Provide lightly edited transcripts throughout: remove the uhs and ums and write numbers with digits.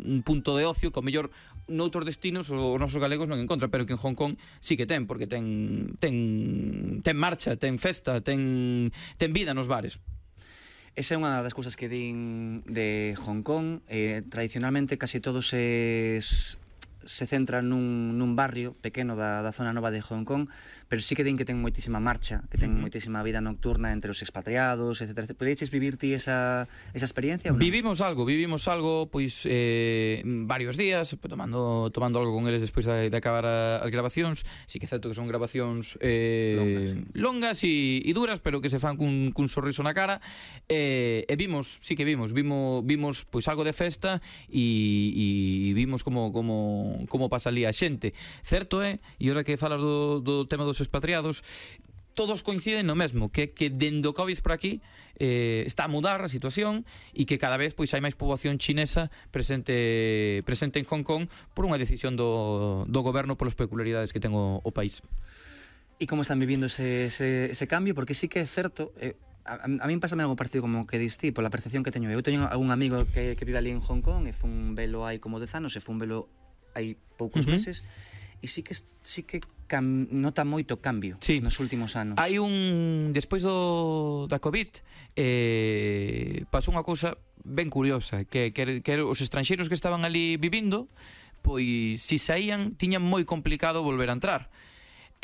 un punto de ocio que ao mellor noutros destinos os nosos galegos non encontran, pero que en Hong Kong sí que ten, porque ten marcha, ten festa, ten vida nos bares. Esa é unha das cousas que din de Hong Kong. Tradicionalmente casi todos se centran nun barrio pequeno da zona nova de Hong Kong, pero sí que din que ten moitísima marcha, que ten moitísima vida nocturna entre os expatriados, etc. Podedes vivir ti esa experiencia? Vivimos algo, pois varios días, tomando algo con eles despois de acabar as grabacións. Sí que é certo que son grabacións longas e duras, pero que se fan cun sorriso na cara. E vimos pois algo de festa e vimos como pasa ali a xente. Certo é, e ora que falas do tema dos expatriados, todos coinciden no mesmo, que dende o Covid por aquí está a mudar a situación e que cada vez pois hai máis poboación chinesa presente en Hong Kong por unha decisión do goberno polas peculiaridades que ten o país. E como están vivindo ese cambio? Porque sí que é certo, a min pásame algo parecido como que diste, pola percepción que teño. Eu teño algún amigo que vive ali en Hong Kong e fun velo hai como 10 anos e fun velo hai poucos meses, e sí que nota moito cambio nos últimos anos. Hai despois da Covid pasou unha cousa ben curiosa, que os estranxeiros que estaban ali vivindo, pois si saían tiñan moi complicado volver a entrar.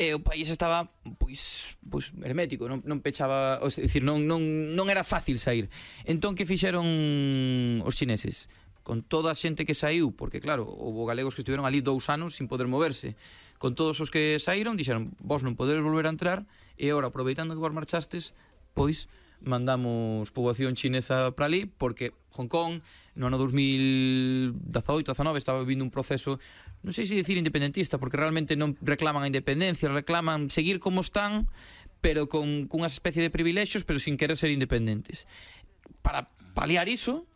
E o país estaba pois hermético, non pechaba, é dicir, non era fácil sair. Entón que fixeron os chineses? Con toda a xente que saiu, porque claro, houve galegos que estiveron ali 2 anos sin poder moverse, con todos os que saíron, dixeron, vos non podedes volver a entrar, e agora, aproveitando que vos marchastes, pois mandamos poboación chinesa para ali, porque Hong Kong no ano 2018-19 estaba vivindo un proceso, non sei se dicir independentista, porque realmente non reclaman a independencia, reclaman seguir como están, pero con unha especie de privilexios, pero sin querer ser independentes. Para paliar iso,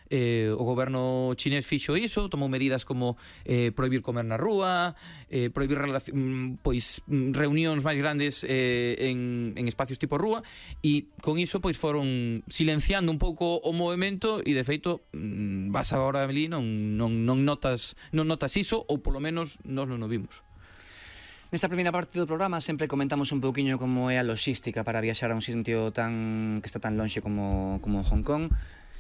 o goberno chinés fixo iso, tomou medidas como prohibir comer na rúa, prohibir reunións máis grandes en espacios tipo rúa, e con iso pois foron silenciando un pouco o movimento, e de feito vas agora ali non notas iso, ou polo menos nós non o vimos. Nesta primeira parte do programa sempre comentamos un pouquiño como é a logística para viaxar a un sitio que está tan lonxe como Hong Kong.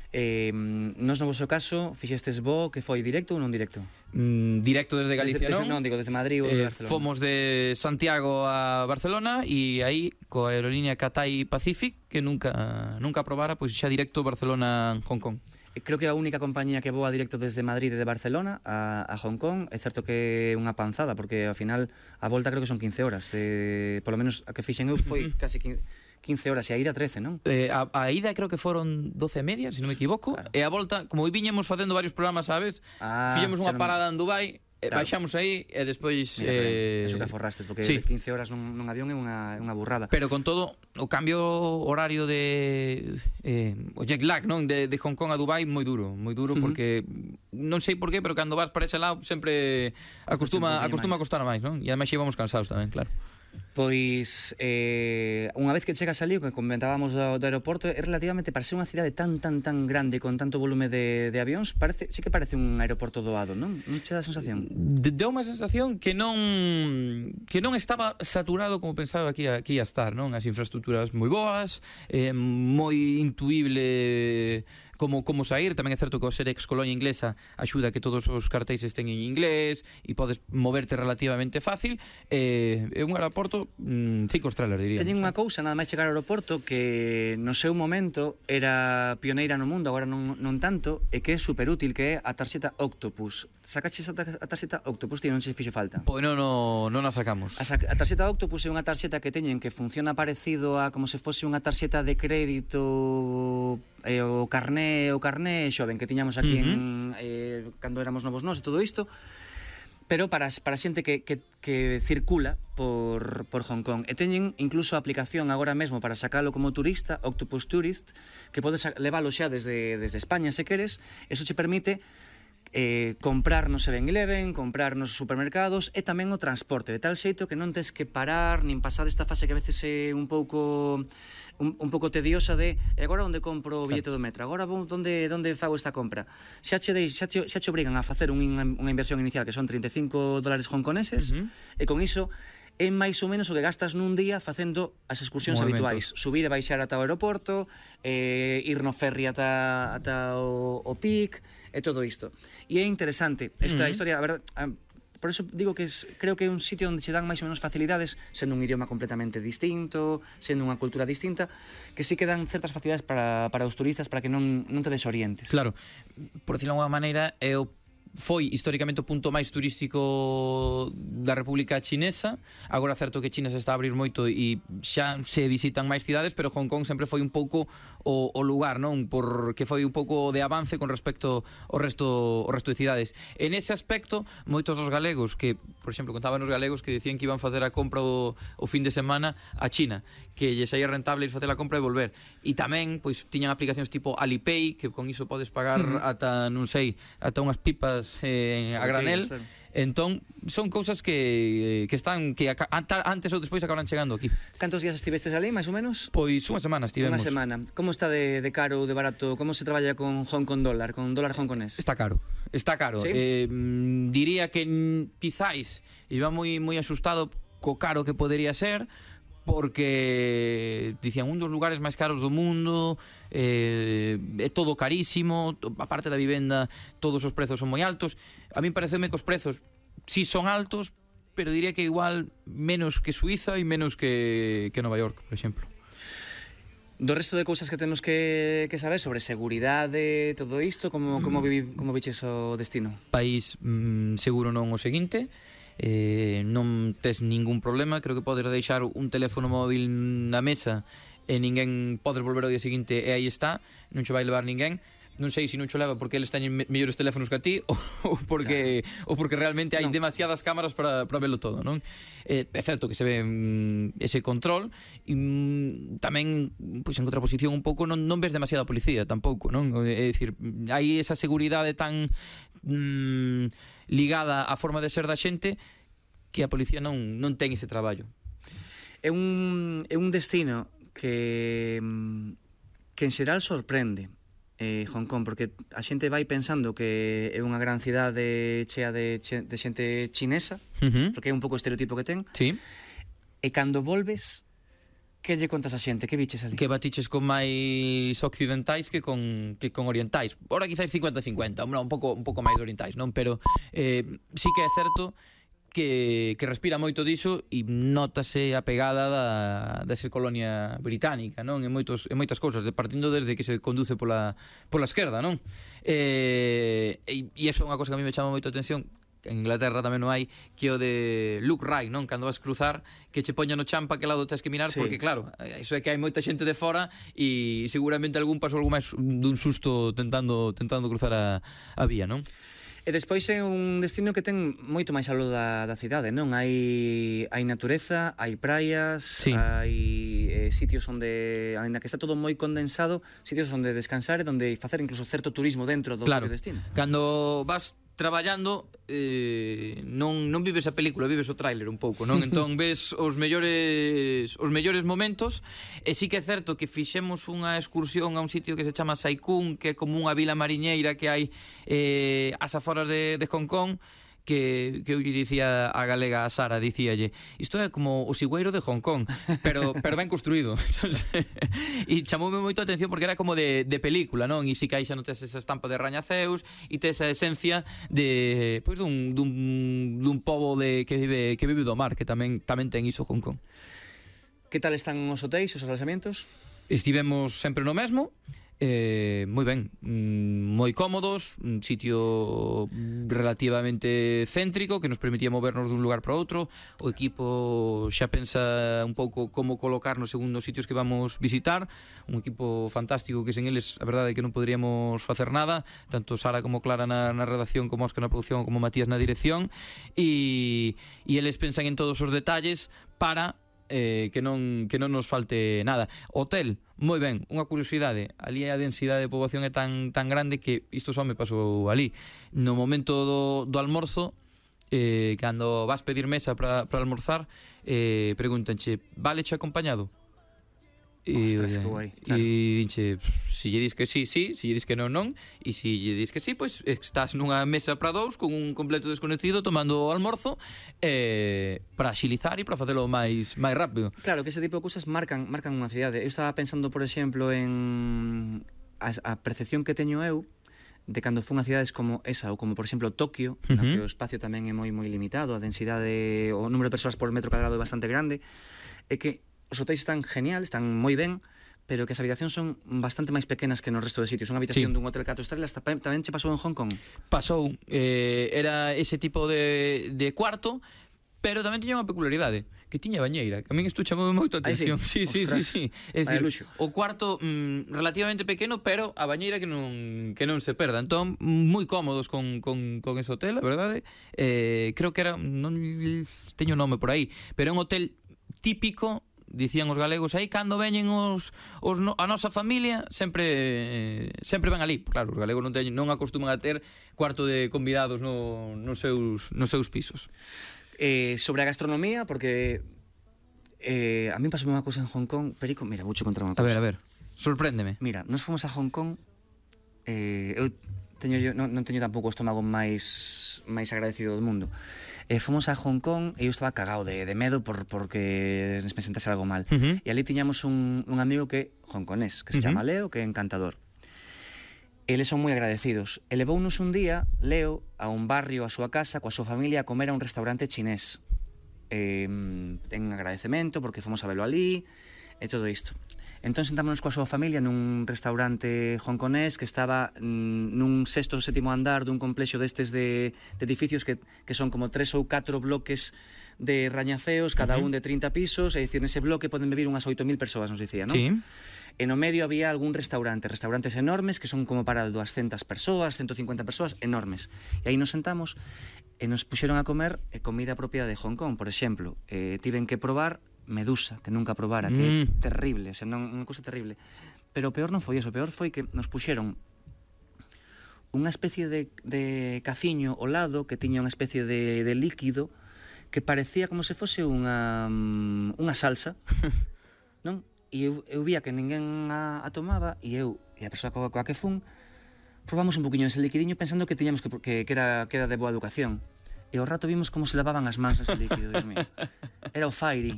Nos no vosso caso fixestes voo que foi directo ou non directo? Directo desde Galicia, non, digo desde Madrid ou de Barcelona. Fomos de Santiago a Barcelona e aí coa aerolínea Cathay Pacific, que nunca aprobara, pois xa directo Barcelona-Hong Kong. Creo que é a única compañía que voa directo desde Madrid e de Barcelona a Hong Kong. É certo que é unha panzada, porque ao final a volta creo que son 15 horas. Polo menos a que fixen eu foi casi 15 horas, e a ida 13, non? A ida creo que foron 12 e media, se non me equivoco, claro. E a volta, como viñemos facendo varios programas, sabes? Fixemos unha parada en Dubai, claro. Baixamos aí e despois... Eso que aforrastes, porque sí. 15 horas nun avión é unha burrada. Pero con todo, o cambio horario o jet lag, non? De Hong Kong a Dubai moi duro, porque non sei por qué, pero cando vas para ese lado sempre acostuma a costar máis, non? E ademais íbamos cansados tamén, claro. Pois unha vez que chegas ali, o que comentábamos do aeroporto, é relativamente, para ser unha cidade tan grande con tanto volume de avións, sí que parece un aeroporto doado, non? Non che dá a sensación? Deu unha sensación que non estaba saturado como pensaba que ia estar, non? As infraestructuras moi boas, moi intuible como sair. Tamén é certo que o ser ex-colonia inglesa axuda a que todos os cartéis estén en inglés e podes moverte relativamente fácil. É un aeroporto 5 estrelas, diría. Teñen unha cousa, nada máis chegar ao aeroporto, que no seu momento era pioneira no mundo, agora non tanto, e que é superútil, que é a tarxeta Octopus. Sacaches a tarxeta Octopus, tío, non se fixo falta? Pois non a sacamos. A tarxeta Octopus é unha tarxeta que teñen que funciona parecido a como se fose unha tarxeta de crédito, o carné xoven que tiñamos aquí cando éramos novos nós e todo isto, pero para xente que circula por Hong Kong. E teñen incluso a aplicación agora mesmo para sacalo como turista, Octopus Tourist, que podes levalo xa desde España se queres. Eso che permite comprar no 7-Eleven, comprar nos supermercados e tamén o transporte, de tal xeito que non tes que parar nin pasar esta fase que a veces é un pouco tediosa de agora onde compro o billete do metro, agora onde fago esta compra. Xa che obrigan a facer unha inversión inicial que son $35 hongkoneses e con iso é máis ou menos o que gastas nun día facendo as excursións habituais, subir e baixar ata o aeroporto, ir no ferry ata o PIC e todo isto. E é interesante esta historia, a verdade, por eso digo que creo que é un sitio onde se dan máis ou menos facilidades, sendo un idioma completamente distinto, sendo unha cultura distinta, que sí que dan certas facilidades para os turistas para que non te desorientes. Claro, por decirlo de alguma maneira, foi históricamente o punto máis turístico da República Chinesa. Agora certo que China se está a abrir moito e xa se visitan máis cidades, pero Hong Kong sempre foi un pouco o lugar, non? Porque foi un pouco de avance con respecto ao resto de cidades. En ese aspecto, moitos dos galegos que, por exemplo, contaban os galegos que decían que iban facer a compra o fin de semana a China, que lle saía rentable ir facer a compra e volver. E tamén, pois, tiñan aplicacións tipo Alipay, que con iso podes pagar ata, non sei, ata unhas pipas a granel. Entón, son cousas que están que antes ou despois acabarán chegando aquí. Cantos días estivestes ali, máis ou menos? Pois unha semana estivemos. Unha semana. Como está de caro ou de barato? Como se traballa con Hong Kong dólar, con dólar hongkonés? Está caro. ¿Sí? Diría que quizáis iba moi asustado co caro que podería ser, porque dicían un dos lugares máis caros do mundo, é todo carísimo, a parte da vivenda todos os prezos son moi altos. A mí pareceme que os prezos sí son altos, pero diría que igual menos que Suiza e menos que Nova York, por exemplo. Do resto de cousas que temos que saber sobre seguridade, todo isto, como viches o destino? País seguro non o seguinte, non tes ningún problema, creo que podes deixar un teléfono móvil na mesa e ninguén podes volver ao día seguinte e aí está, non che vai levar ninguén. Non sei se non cho leva porque eles teñen mellores teléfonos que a ti ou porque realmente hai demasiadas cámaras para velo todo, non? É certo que se ve ese control e tamén, pois, en contraposición un pouco non ves demasiada policía tampouco, non? É dicir, hai esa seguridade tan ligada á forma de ser da xente que a policía non ten ese traballo. É un destino que en xeral sorprende Hong Kong, porque a xente vai pensando que é unha gran cidade chea de xente chinesa, porque é un pouco o estereotipo que ten. Sí. E cando volves, que lle contas a xente? Que biches ali? Que batiches con máis occidentais que con orientais. Ora quizás 50-50, un pouco máis orientais, non? Pero sí que é certo que respira moito diso e nótase a pegada da ser colonia británica, non? En moitas cousas, partindo desde que se conduce pola esquerda, non? E iso é unha cosa que a mí me chama moito a atención. En Inglaterra tamén non hai, que o de look right, non? Cando vas cruzar, que che poña no champa que lado tens que mirar, sí. Porque claro, iso é que hai moita xente de fora e seguramente algún pasou algo máis dun susto tentando cruzar a vía, non? E despois é un destino que ten moito máis aló da cidade, non? Hai natureza, hai praias, sí. Hai sitios onde, ainda que está todo moi condensado, sitios onde descansar e onde facer incluso certo turismo dentro do propio destino. Cando vas traballando non vives a película, vives o tráiler un pouco, non? Entón ves os mellores momentos. E sí que é certo que fixemos unha excursión a un sitio que se chama Sai Kung, que é como unha vila mariñeira que hai ás aforas de Hong Kong, que eu lle dicía a galega, a Sara, dicíalle, isto é como o Sigüeiro de Hong Kong, pero ben construído. E chamoume moito a atención porque era como de película, non? E si que aí xa non tes esa estampa de rañaceus e tes a esencia de, pois, dun pobo que vive do mar, que tamén ten iso Hong Kong. Que tal están os hotéis, os alojamientos? Estivemos sempre no mesmo. Moi ben, moi cómodos, un sitio relativamente céntrico que nos permitía movernos dun lugar para outro. O equipo xa pensa un pouco como colocarnos según os sitios que vamos visitar. Un equipo fantástico que sen eles a verdade é que non poderíamos facer nada, tanto Sara como Clara na redacción, como Óscar na producción, como Matías na dirección, e eles pensan en todos os detalles para que non nos falte nada. Hotel moi ben. Unha curiosidade, ali a densidade de poboación é tan grande que isto só me pasou ali. No momento do almorzo, cando vas pedir mesa para almorzar, pregúntanche, valeche acompañado? Ostras, que guai, claro. E dinche, se lle dis que sí, sí, se lle dis que non, non, e se lle dis que sí, pois estás nunha mesa para dous con un completo desconocido tomando o almorzo para axilizar e para facelo máis rápido. Claro, que ese tipo de cousas marcan unha cidade. Eu estaba pensando, por exemplo, en a percepción que teño eu de cando fun a cidades como esa, ou como, por exemplo, Tokio, na que o espacio tamén é moi limitado, a densidade, o número de persoas por metro cadrado é bastante grande, é que os hotéis están genial, están moi ben, pero que as habitacións son bastante máis pequenas que no resto de sitios. Unha habitación dun hotel 4 estrelas tamén che pasou en Hong Kong? Pasou, era ese tipo de cuarto, pero tamén tiña unha peculiaridade, que tiña bañeira, que a min isto chamou moito a atención. Sí? Sí. É dicir, luxo. o cuarto relativamente pequeno, pero a bañeira que non se perda. Entón, moi cómodos con ese hotel, a verdade. Creo que era, non teño nome por aí, pero é un hotel típico, dicían os galegos aí, cando veñen a nosa familia sempre van ali. Claro, os galegos non acostuman a ter cuarto de convidados nos seus pisos. Sobre a gastronomía, porque a mí pasou unha cousa en Hong Kong, Perico, mira, vouche contar unha cousa. A ver, sorpréndeme. Mira, nos fomos a Hong Kong, eu non teño tampouco o estómago máis agradecido do mundo. Fomos a Hong Kong e eu estaba cagado de medo porque me sentase algo mal. E ali tiñamos un amigo que hongkonés, que se chama Leo, que é encantador. Eles son moi agradecidos. E levounos un día, Leo, a un barrio, a súa casa, coa súa familia, a comer a un restaurante chinés. En agradecemento, porque fomos a velo ali, e todo isto. Entón sentámonos coa súa familia nun restaurante hongkonés que estaba nun 6º ou 7º andar dun complexo destes de edificios que son como 3 ou 4 bloques de rañaceos, cada un de 30 pisos, é dicir, nese bloque poden vivir unhas 8.000 persoas, nos dicía, non? Sí. E no medio había algún restaurantes enormes que son como para 200 persoas, 150 persoas, enormes. E aí nos sentamos e nos puxeron a comer comida propia de Hong Kong, por exemplo. Tiven que probar medusa, que nunca probara, que é terrible, o sea, unha cousa terrible. Pero o peor non foi eso, o peor foi que nos puxeron unha especie de caciño ao lado que tiña unha especie de líquido que parecía como se fose unha salsa, non? E eu vía que ninguén a tomaba e eu e a persoa coa que fun probamos un poquinho ese liquidiño pensando que tiñamos que era de boa educación. E ao rato vimos como se lavaban as mans ese líquido, Dios mío. Era o Fairy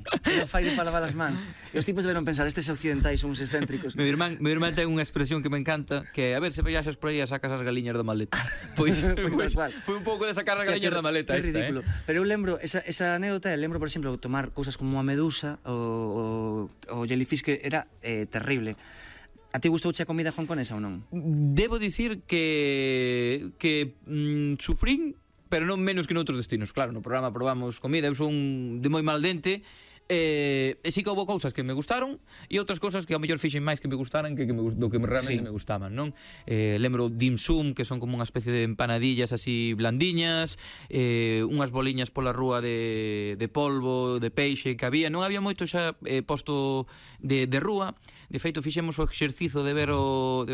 para lavar as mans. E os tipos deberon pensar, estes occidentais son uns excéntricos. Meu irmán ten unha expresión que me encanta, que a ver se viaxas por aí a sacas as galiñas da maleta. Pois foi un pouco de sacar as galiñas da maleta esta, ridículo. Pero eu lembro, esa anécdota, lembro, por exemplo, tomar cousas como a medusa o jellyfish, que era terrible. A ti gustouche a comida hongkonesa ou non? Debo dicir que sufrín, pero non menos que noutros destinos. Claro, no programa probamos comida, eu son de moi mal dente, e sí que houve cousas que me gustaron e outras cousas que ao mellor fixen máis que me gustaran que do que realmente me gustaban, non? Lembro dim sum, que son como unha especie de empanadillas así blandiñas, unhas boliñas pola rúa de polvo, de peixe que había. Non había moito xa posto de rúa. De feito, fixemos o exercicio de ver o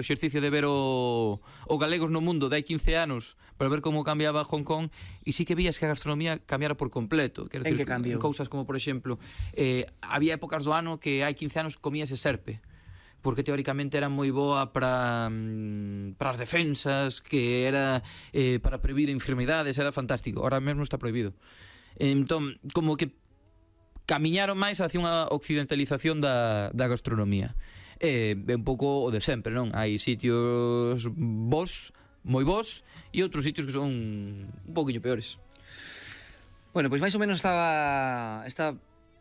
galegos no mundo de hai 15 anos para ver como cambiaba Hong Kong, e sí que vías que a gastronomía cambiara por completo. En que cambiou? Cousas como, por exemplo, había épocas do ano que hai 15 anos comíase serpe, porque teóricamente era moi boa para as defensas, que era para previr enfermidades, era fantástico. Ahora mesmo está prohibido. Entón, como que camiñaron máis hacia unha occidentalización da gastronomía. É un pouco o de sempre, non? Hai sitios moi bons, e outros sitios que son un pouquiño peores. Bueno, pois máis ou menos estaba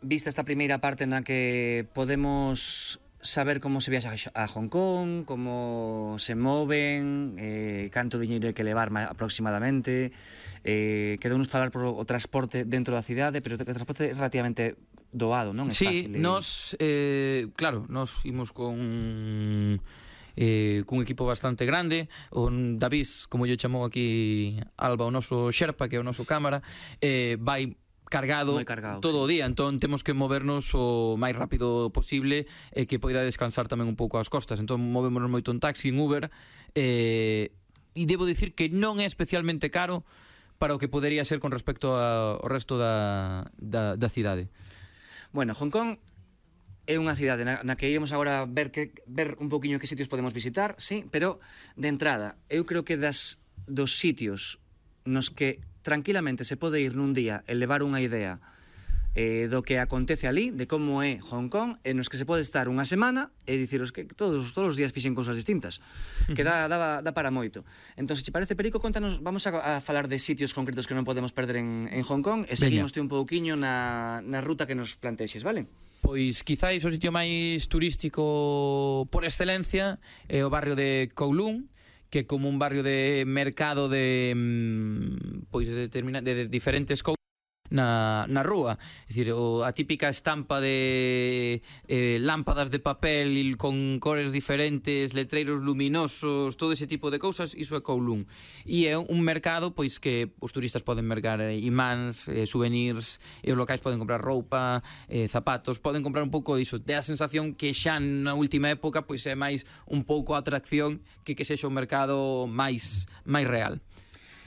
vista esta primeira parte na que podemos saber como se viaxa a Hong Kong, como se moven, canto diñeiro hai que levar aproximadamente. Quedounos falar por o transporte dentro da cidade, pero o transporte é relativamente doado, non? É sí, fácil. Claro, nos imos cun equipo bastante grande. O David, como yo chamou aquí Alba, o noso xerpa, que é o noso cámara, vai cargado todo o día, entón temos que movernos o máis rápido posible e que poida descansar tamén un pouco as costas. Entón movémonos moito en taxi, en Uber, e debo dicir que non é especialmente caro para o que podería ser con respecto ao resto da cidade. Bueno, Hong Kong é unha cidade na que íamos agora ver un poquinho que sitios podemos visitar, sí, pero de entrada, eu creo que dos sitios nos que tranquilamente se pode ir nun día e levar unha idea do que acontece ali, de como é Hong Kong, e nos que se pode estar unha semana e diciros que todos os días fixen cousas distintas, que dá para moito. Entón, se te parece, Perico, contanos, vamos a falar de sitios concretos que non podemos perder en Hong Kong e seguimos un pouquiño na ruta que nos plantexes, vale? Pois quizáis o sitio máis turístico por excelencia é o barrio de Kowloon, que é como un barrio de mercado de diferentes cousas na rúa, é dicir, a típica estampa de lámpadas de papel con cores diferentes, letreiros luminosos, todo ese tipo de cousas, iso é Kowloon. E é un mercado pois que os turistas poden mercar imáns, souvenirs, e os locais poden comprar roupa, zapatos, poden comprar un pouco diso. Dá a sensación que xa na última época pois é máis un pouco a atracción que sexa un mercado máis real.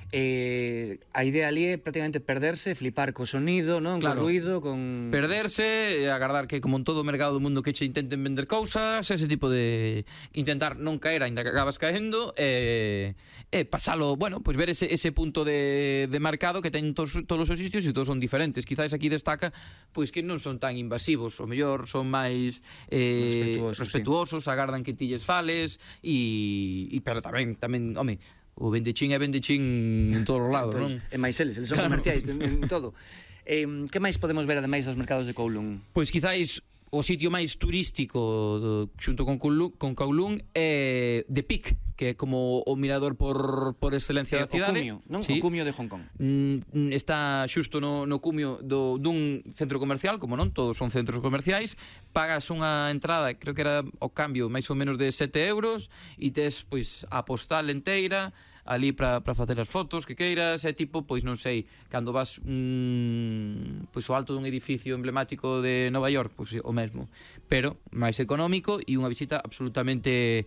A idea ali é prácticamente perderse, flipar co sonido, non? Claro. Co ruido, con... Perderse, agardar que como en todo o mercado do mundo que che intenten vender cousas, ese tipo de... intentar non caer, ainda que acabas caendo, pasalo, bueno, pois ver ese punto de mercado que ten todos os sitios e todos son diferentes. Quizás aquí destaca pois que non son tan invasivos, o mellor son máis respetuosos, sí. Agardan que ti lles fales pero tamén, home, o vendechín é vendechín en todos os lados, non? E máis eles son comerciais en todo. Que máis podemos ver ademais dos mercados de Kowloon? Pois quizáis o sitio máis turístico xunto con Kowloon é The Peak, que é como o mirador por excelencia da cidade. O cumio, non? Sí. O cumio de Hong Kong. Está xusto no cumio dun centro comercial, como non, todos son centros comerciais. Pagas unha entrada, creo que era o cambio máis ou menos de 7 euros, e tes pois a postal enteira ali para facer as fotos que queiras, é tipo, pois non sei, cando vas pois ao alto dun edificio emblemático de Nova York, pois o mesmo, pero máis económico e unha visita absolutamente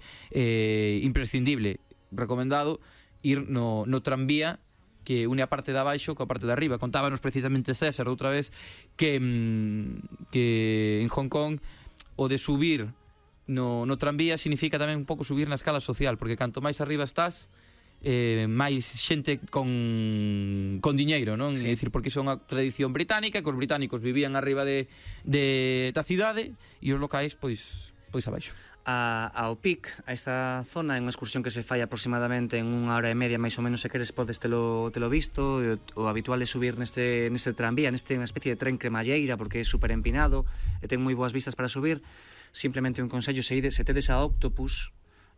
imprescindible. Recomendado ir no tranvía que une a parte de abaixo coa parte de arriba. Contábanos precisamente César outra vez que en Hong Kong o de subir no tranvía significa tamén un pouco subir na escala social, porque canto máis arriba estás, máis xente con diñeiro, non? Sí. É dicir, porque iso é unha tradición británica, que os británicos vivían arriba da cidade e os locais pois abaixo. Ao Pic, a esta zona, é unha excursión que se fai aproximadamente en 1 hora e media, máis ou menos, se queres podes telo visto. O habitual é subir neste tranvía, unha especie de tren cremalleira, porque é super empinado e ten moi boas vistas para subir. Simplemente un consello, se tedes a Octopus,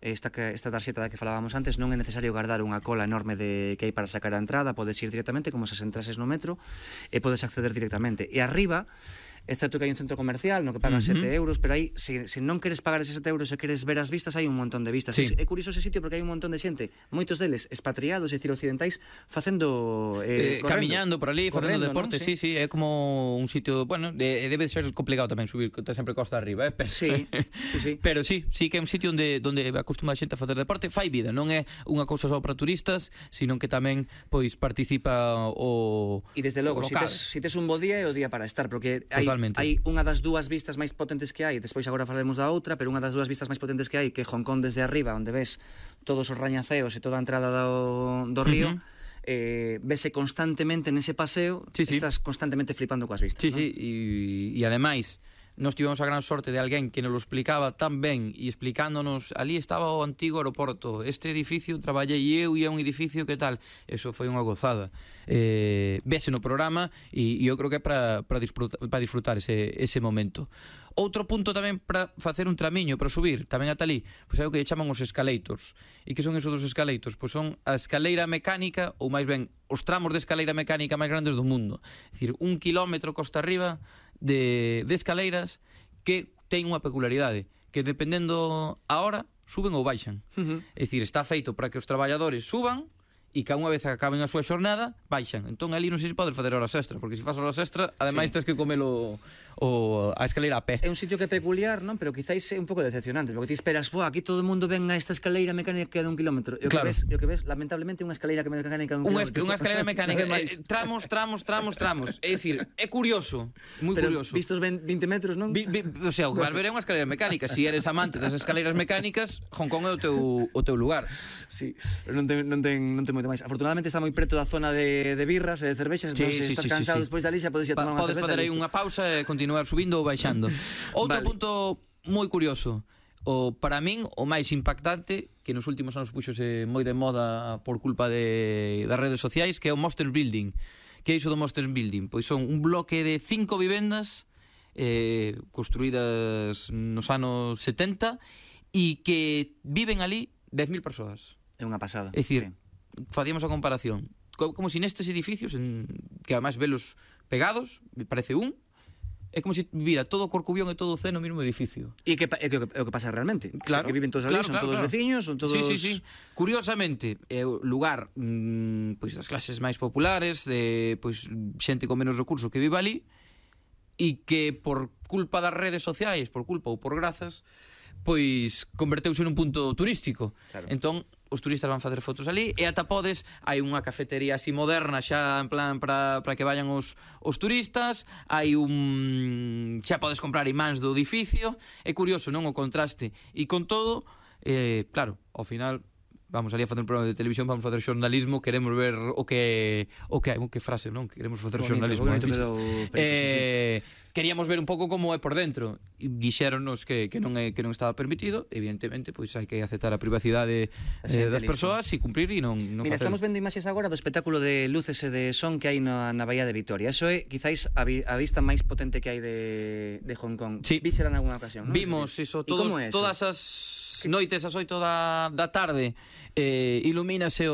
esta tarxeta da que falábamos antes, non é necesario guardar unha cola enorme que hai para sacar a entrada, podes ir directamente como se entrases no metro e podes acceder directamente. E arriba, é certo que hai un centro comercial no que pagas 7 euros, pero aí, se non queres pagar eses 7 euros e queres ver as vistas, hai un montón de vistas. Sí. É curioso ese sitio porque hai un montón de xente, moitos deles expatriados, é dicir, occidentais, facendo camiñando por ali, facendo deporte, ¿no? Sí, é como un sitio, bueno, debe ser complicado tamén subir, sempre costa arriba, pero sí. Pero sí que é un sitio onde acostuma a xente a facer deporte, fai vida, non é unha cousa só para turistas, sino que tamén pois participa o e desde logo, se tes un bo día é o día para estar, porque hai unha das dúas vistas máis potentes que hai, despois agora falaremos da outra, pero unha das dúas vistas máis potentes que hai, que é Hong Kong desde arriba, onde ves todos os rañaceos e toda a entrada do río, vese constantemente nese paseo, estás constantemente flipando coas vistas. Sí, e ademais nós tivemos a gran sorte de alguén que nos lo explicaba tan ben e explicándonos, ali estaba o antigo aeroporto, este edificio traballei eu e é un edificio que tal, eso foi unha gozada. Vese no programa e eu creo que é para disfrutar ese momento. Outro punto tamén para facer un tramiño, para subir, tamén ata ali, pois é o que chaman os escalators. E que son esos dos escalators? Pois son a escaleira mecánica, ou máis ben, os tramos de escaleira mecánica máis grandes do mundo. É dicir, 1 kilómetro costa arriba de escaleiras que ten unha peculiaridade, que dependendo a hora, suben ou baixan. É dicir, está feito para que os traballadores suban e que unha vez acaben a súa xornada baixan. Entón ali non sei se podes facer horas extra, porque se faz horas extra ademais tens que comelo a escaleira a pé. É un sitio que é peculiar, non? Pero quizáis é un pouco decepcionante, porque ti esperas, aquí todo o mundo ven a esta escaleira mecánica de 1 kilómetro. E o que ves, lamentablemente, unha escaleira mecánica de 1 kilómetro. Unha escaleira mecánica, tramos. É dicir, é curioso, moi curioso. Pero vistos 20 metros, non? O sea, o que vas ver é unha escaleira mecánica. Se eres amante das escaleiras mecánicas, Hong Kong é o teu lugar. Sí, pero non ten moito máis. Afortunadamente está moi preto da zona de birras e de cervexas, entón se estás cansado despois dali xa podes ir a tomar unha cerveza. Podes fazer aí unha pausa e continuar subindo ou baixando. Outro punto moi curioso, para min o máis impactante, que nos últimos anos puxose moi de moda por culpa das redes sociais, que é o Monster Building. Que é iso do Monster Building? Pois son un bloque de 5 vivendas construídas nos anos 70 e que viven ali 10.000 persoas. É unha pasada. É dicir, facíamos a comparación como si nestes edificios, que además velos pegados, parece é como se vivira todo Corcubión e todo o Cee no mesmo edificio. E que o que pasa realmente. Claro, que viven todos ali, son todos veciños, son todos... Sí. Curiosamente, é o lugar pois das clases máis populares, de pois xente con menos recursos que vive ali, e que por culpa das redes sociais, por culpa ou por grazas, pois converteuse nun punto turístico. Claro. Entón, os turistas van facer fotos ali e ata podes, hai unha cafetería así moderna xa en plan para que vayan os turistas, hai xa podes comprar imáns do edificio. É curioso, non, o contraste. E con todo, claro, ao final vamos ali a facer un programa de televisión, vamos facer xornalismo, queremos ver o que frase, non? Queremos facer xornalismo. Queríamos ver un pouco como é por dentro e dixéronnos que non estaba permitido. Evidentemente, pois hai que aceptar a privacidade das persoas e cumprir e non Mira, facer. Estamos vendo imaxes agora do espectáculo de luces e de son que hai na Bahía de Vitoria. Eso é, quizáis, a vista máis potente que hai de Hong Kong. Sí. Vísela en alguna ocasión, non? Vimos iso, todas as noites, as 8 da tarde, ilumínase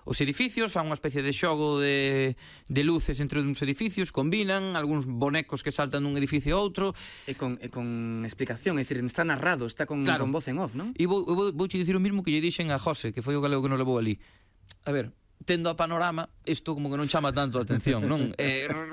os edificios, fan unha especie de xogo de luces entre uns edificios, combinan algúns bonecos que saltan dun edificio a outro e con explicación, é dicir, está narrado, está con voz en off, non? E vouche dicir o mismo que lle dixen a José, que foi o galego que nos levou ali. A ver, tendo a panorama, isto como que non chama tanto a atención, non?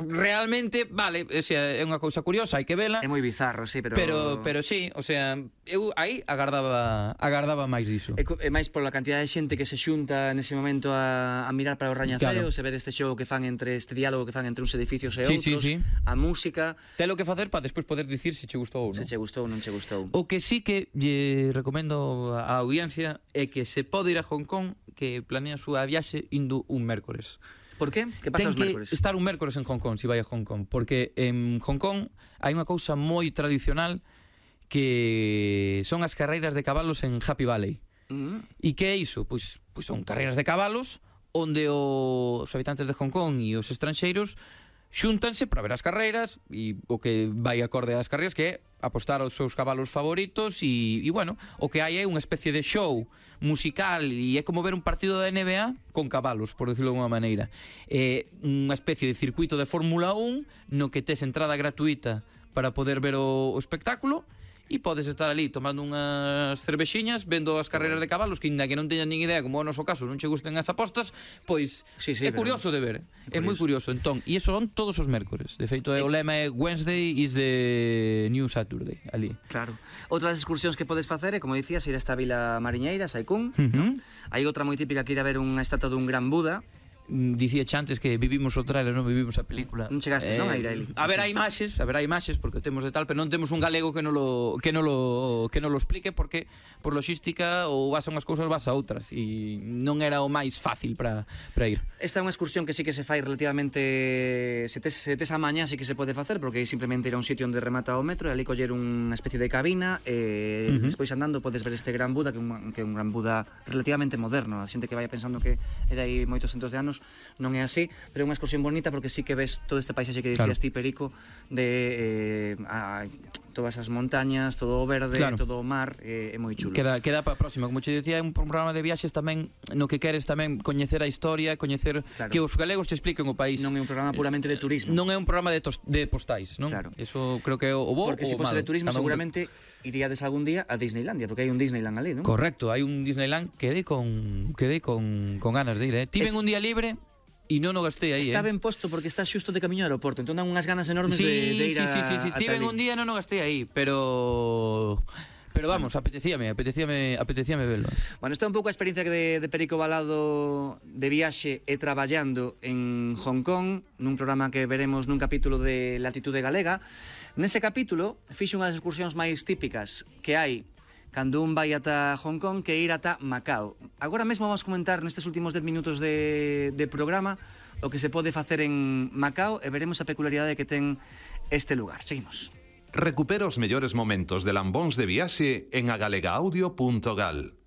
Realmente, vale, o sea, é unha cousa curiosa, hai que vela. É moi bizarro, sí, pero sí, o sea, eu aí agardaba máis diso. É máis pola cantidad de xente que se xunta nese momento a mirar para o rañaceo, se ver este xogo que fan este diálogo que fan entre uns edificios e outros, a música. Telo que facer para despois poder dicir se che gustou ou non. Se che gustou ou non che gustou. O que sí que lle recomendo á audiencia é que se pode ir a Hong Kong, que planea a súa viaxe indo un mércores. Por qué? Que pasa os mércores? Ten que estar un mércores en Hong Kong, se vai a Hong Kong, porque en Hong Kong hai unha cousa moi tradicional que son as carreiras de cabalos en Happy Valley. E que é iso? Pois son carreiras de cabalos onde os habitantes de Hong Kong e os estranxeiros xúntanse para ver as carreiras e o que vai acorde ás carreiras, que é apostar aos seus cabalos favoritos e bueno, o que hai é unha especie de show musical e é como ver un partido da NBA con cabalos, por decirlo de alguma maneira. É unha especie de circuito de Fórmula 1 no que tes entrada gratuita para poder ver o espectáculo e podes estar ali tomando unhas cervexiñas, vendo as carreiras de cabalos, que ainda que non teñan nin idea, como é o noso caso, non che gusten as apostas, pois é curioso de ver, é moi curioso. Entón, e iso son todos os mércores. De feito, o lema é Wednesday is the new Saturday, ali. Claro. Outras excursións que podes facer é, como dicías, ir a esta vila mariñeira, Sai Kung. Hai outra moi típica que ir a ver unha estatua dun gran Buda. Dicía antes que vivimos o trailer, non vivimos a película. Non chegaste, non, a ir ali. Haberá imaxes porque temos de tal, pero non temos un galego que non lo explique, porque por logística ou vas a unhas cousas vas a outras e non era o máis fácil para ir. Esta é unha excursión que sí que se fai relativamente, se tes a mañá sí que se pode facer, porque simplemente ir a un sitio onde remata o metro e ali coller unha especie de cabina e despois andando podes ver este gran Buda, que é un gran Buda relativamente moderno. A xente que vai pensando que é de aí moitos centos de anos menos non é así, pero é unha excursión bonita porque sí que ves todo este paisaxe que dicías ti, Perico, de todas as montañas, todo o verde, todo o mar, é moi chulo. Queda para a próxima, como che dicía, é un programa de viaxes tamén no que queres tamén coñecer a historia, coñecer que os galegos te expliquen o país. Non é un programa puramente de turismo. Non é un programa de postais, non? Claro. Eso creo que é o bo ou o malo. Porque se fose de turismo seguramente iríades algún día a Disneylandia, porque hai un Disneyland ali, non? Correcto, hai un Disneyland quedei con ganas de ir, Tiven un día libre e non o gastei aí, Está ben posto porque está xusto de camiño ao aeroporto, entón dan unhas ganas enormes de ir a... Sí, tiven un día e non o gastei aí, pero vamos, apetecíame velo. Bueno, esta é un pouco a experiencia de Perico Balado de viaxe e traballando en Hong Kong, nun programa que veremos nun capítulo de Latitude Galega. Nese capítulo fixo unha das excursións máis típicas que hai cando un vai ata Hong Kong, que ir ata Macao. Agora mesmo vamos comentar nestes últimos 10 minutos de programa o que se pode facer en Macao e veremos a peculiaridade que ten este lugar. Seguimos. Recupera os mellores momentos de lambóns de viaxe en agalegaudio.gal.